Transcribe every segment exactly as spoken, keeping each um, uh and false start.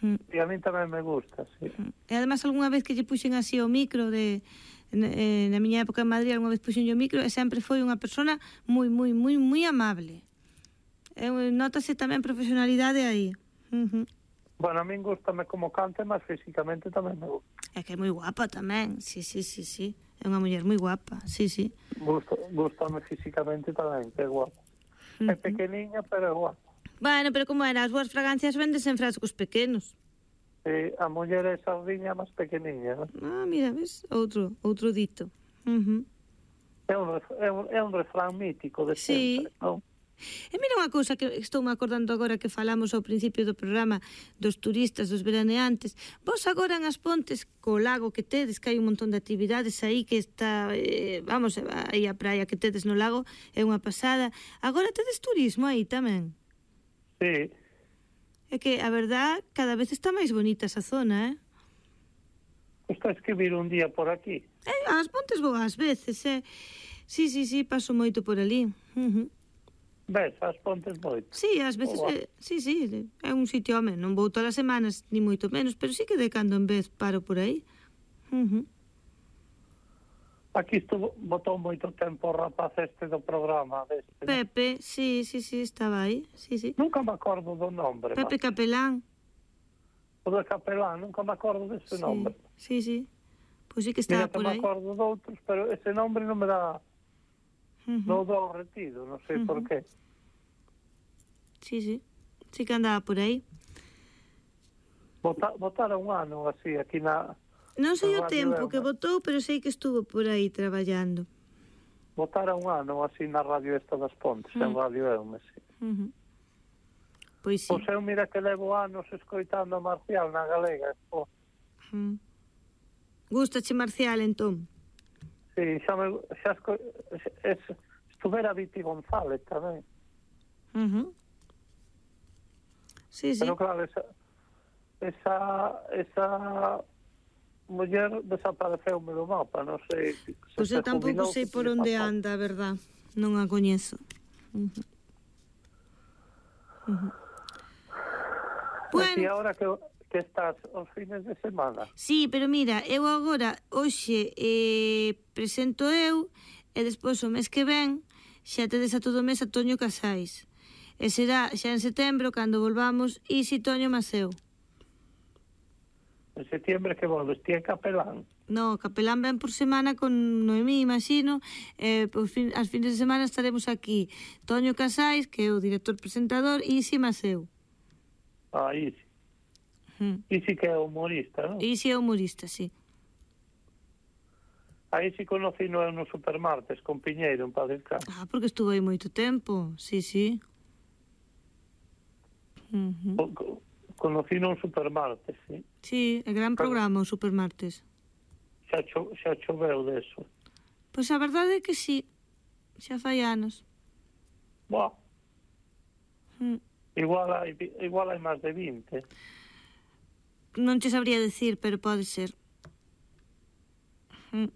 Mm. E a mí tamén me gusta, sí. Mm. E además algunha vez que lle puxen así o micro de eh, na miña época en Madrid, algunha vez puxen o micro e sempre foi unha persona moi, moi, moi, moi amable. E, notase tamén profesionalidade aí. Uh-huh. Bueno, a min gustame como cante, mas físicamente tamén me gusta. É que é moi guapa tamén, sí, sí, sí, sí. É unha muller moi guapa, sí, sí. Gusto, gustame físicamente tamén, que é guapa. Uh-huh. É pequeniña, pero é guapa. Bueno, pero como era, as boas fragancias vendes en frascos pequenos. Sí, a muller é sardiña máis pequeniña, non? Ah, mira, ves? Outro, outro dito. Uh-huh. É un, é un, é un refrán mítico de sempre, sí. Non? E mira unha cousa que estou me acordando agora que falamos ao principio do programa dos turistas, dos veraneantes. Vos agora en As Pontes, co lago que tedes, que hai un montón de actividades aí que está, eh, vamos, aí a praia que tedes no lago é unha pasada. Agora tedes turismo aí tamén. Sí. É que, a verdad, cada vez está máis bonita esa zona, eh? Estás que vir un día por aquí? Eh, As Pontes vou ás veces, eh? Sí, sí, sí, paso moito por ali. Uh-huh. Ves, As Pontes moito? Sí, ás veces, oh, eh, sí, sí, é un sitio, home, non vou todas as semanas, ni moito menos, pero sí que de cando en vez paro por aí. Uh-huh. Aquí estuvo, botou moito tempo o rapaz este do programa deste. Pepe, ¿no? Sí, sí, sí, estaba aí, sí, sí. Nunca me acordo do nombre. Pepe man. Capelán. O de Capelán, nunca me acordo dese sí, nombre. Sí, sí, pois pues sí que estaba Mira, por aí. Mira, me acordo doutros, pero ese nombre non me dá... Uh-huh. Non dou retido, non sei uh-huh. por qué. Sí, sí, sí que andaba por aí. Bota, botara un ano así aquí na... Non sei o tempo que botou, pero sei que estuvo por aí traballando. Botara un ano así na radio esta das Pontes, uh-huh. en Radio Eume, sí. Uh-huh. Pois sí. Pois eu mira que levo anos escoitando a Marcial na galega. Oh. Uh-huh. Gustache Marcial, entón? Sí, xa me... Xa esco... es, estuvera Viti González tamén. Uh-huh. Sí, sí. Pero claro, esa, esa, esa muller desapareceume do mapa, non sei. Pois eu tampouco sei por onde anda, a verdad. Non a coñezo. Uh-huh. Uh-huh. Bueno. E agora que, que estás os fines de semana? Sí, pero mira, eu agora, hoxe, eh, presento eu, e despois o mes que ven, xa tedes a todo o mes a Toño Casais. E será xa en setembro cando volvamos Isi, Toño, Maseu. En setembro que volves, ti é Capelán? No, Capelán ven por semana con Noemí, imagino, e por fin, as fines de semana estaremos aquí Toño Casais, que é o director presentador, e Isi Maseu. Ah, Isi. Hmm. Isi que é humorista, non? Isi é humorista, sí. A Isi conocí no, no Supermartes con Piñeiro en Padre Castro. Ah, porque estuvo aí moito tempo, sí, sí. Uh-huh. Co conocí no Supermartes, sí. Sí, é gran programa o Supermartes. Xa, cho xa choveu deso. Pois a verdade é que sí, xa fai anos. Buah. Mm. Igual hai, igual hai máis de vinte. Non te sabría decir, pero pode ser. Mm.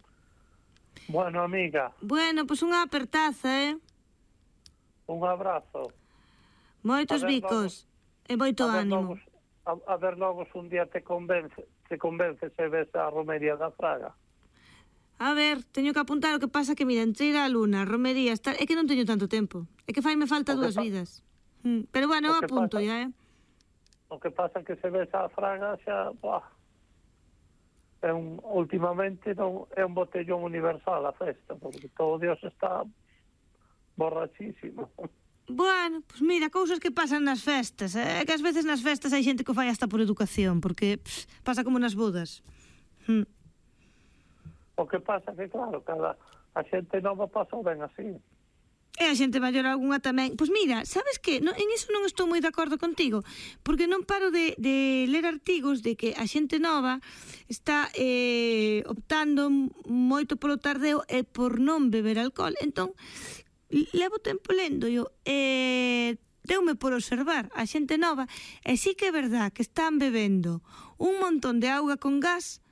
Bueno, amiga. Bueno, pois unha apertaza, eh? Un abrazo. Moitos bicos. E moito ánimo. Logos, a, a ver logo se un día te convence, te convence se ves a romería da Fraga. A ver, teño que apuntar, o que pasa que, mira, entre ir á Luna, romería, estar... é que non teño tanto tempo. É que faime falta dúas vidas. Mm. Pero bueno, eu apunto pasa, ya, eh? O que pasa que se ves a Fraga xa, buah, é un, últimamente non, é un botellón universal a festa, porque todo Dios está borrachísimo. Bueno, pois pues mira, cousas que pasan nas festas, é eh? que ás veces nas festas hai xente que o fai hasta por educación, porque pff, pasa como nas bodas. Hm. O que pasa que, claro, cada a xente nova pasa ben así. E a xente maior algunha tamén. Pois mira, sabes que no, en iso non estou moi de acordo contigo, porque non paro de, de ler artigos de que a xente nova está eh, optando moito polo tardeo e por non beber alcohol. Entón, levo tempo lendo yo, e deume por observar a xente nova, e sí que é verdad que están bebendo un montón de auga con gas.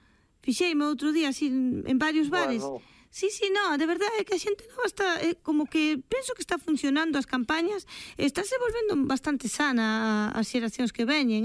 Fixeime outro día así en varios bares. Bueno. Sí, sí, no, de verdade é que a xente nova está, eh, como que penso que está funcionando as campañas, estáse volvendo bastante sana as xeracións que veñen,